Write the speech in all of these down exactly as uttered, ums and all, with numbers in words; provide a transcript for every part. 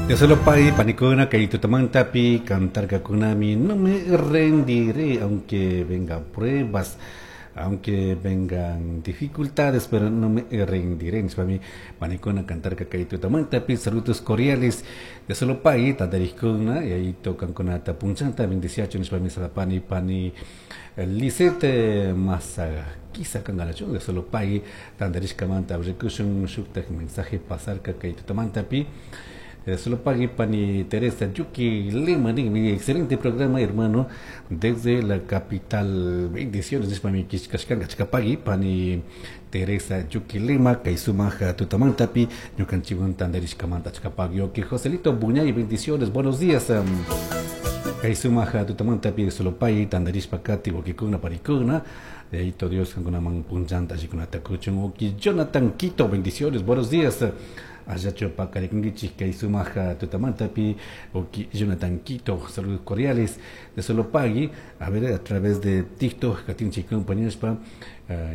Dios lo pague, panikuna, kay tutamantapi, cantarkakunami, no me rendiré, aunque vengan pruebas, aunque vengan dificultades, pero no me rendiré. Nishpami panikuna cantarka kay tutamantapi, saludos cordiales de solo pague, tantarikuna, y ahí tocan con punchanta, bendiciacho, nishpami salapani, pani, Lisette Masa, quizá kangalacho, de solo pague, tantarishkamanta, rikushun, shuktak mensaje pasarka kay tutamantapi. Solo pague pani Teresa Yuki Lima, mi excelente programa, hermano, desde la capital. Bendiciones, pani Kishkashkanga Chikapagui, pani Teresa Yuki Lima, Kaisumaja Tutamantapi, Ñukanchiwan Tandarishkamanta Chikapagui, ok, Joselito Buñay, bendiciones, buenos días. Kaisumaja Tutamantapi, solo pague, Tandarishpakati, Wakikuna, Parikuna, de ahí todo Dios, Kankunaman Punchanta, Chikunatakuchun, ok, Jonathan Quito, bendiciones, buenos días. Ayacho Pacarikungichis, Kaisumaja Tutamantapi, Oki Jonathan Quito, saludos cordiales de Solo Pagui, a ver, a través de TikTok, Katinchi compañeros pa,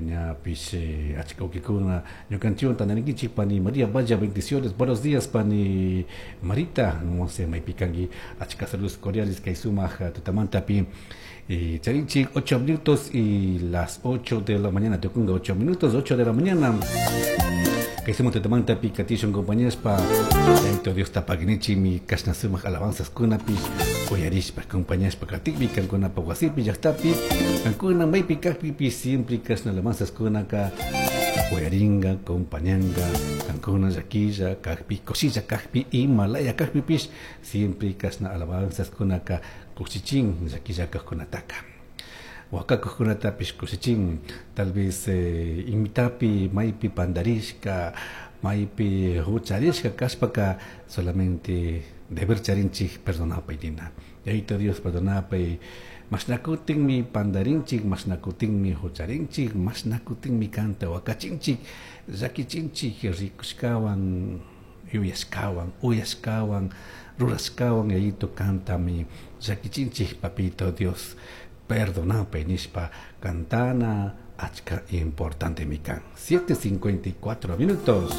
ñapish, Achikaukikuna, Ñukanchiwan Tanarikichi, Pani María Vaya, bendiciones, buenos días, Pani Marita, no sé, Maipikangi, Achika, saludos cordiales, Kaisumaja Tutamantapi. Y Charinchi, ocho minutos y las ocho de la mañana, Tocunga, ocho minutos, ocho de la mañana. Que hicimos Tutamantapi, Katishon, compañeros, pa, Yaito Dios tapaginichi, mi kashnasumaj alabanzas kunapi, uyarishpa, compañeros, pa, katikpi, kankuna, pa, wasipi, llaqtapi, kankuna, maypi, kajpipi, siempre kashna alabanzas kunaka, uyaringa, compañanga, kankuna, llaquilla, kajpi, kosilla, kajpi, himalaya, kajpipish, siempre kashna alabanzas kunaka, kushichin, llaquilla, kajkunataka. Huacacucunatapish kushichin, tal vez eh, imitapi, maypi pandarishka, maypi hucharishka, kashpaka, solamente deber charinchik perdonapay nina. Yaito Dios perdonapay, mashnakutinmi pandarinchik, mashnakutinmi hucharinchik, mashnakutinmi kanta huacachinchik, llakichinchik, rikushkawan, yuyashkawan, uyashkawan, rurashkawan, yaito kantami, llakichinchik, papito Dios. Perdonapay nishpa cantana achka importante mikan. siete cincuenta y cuatro minutos.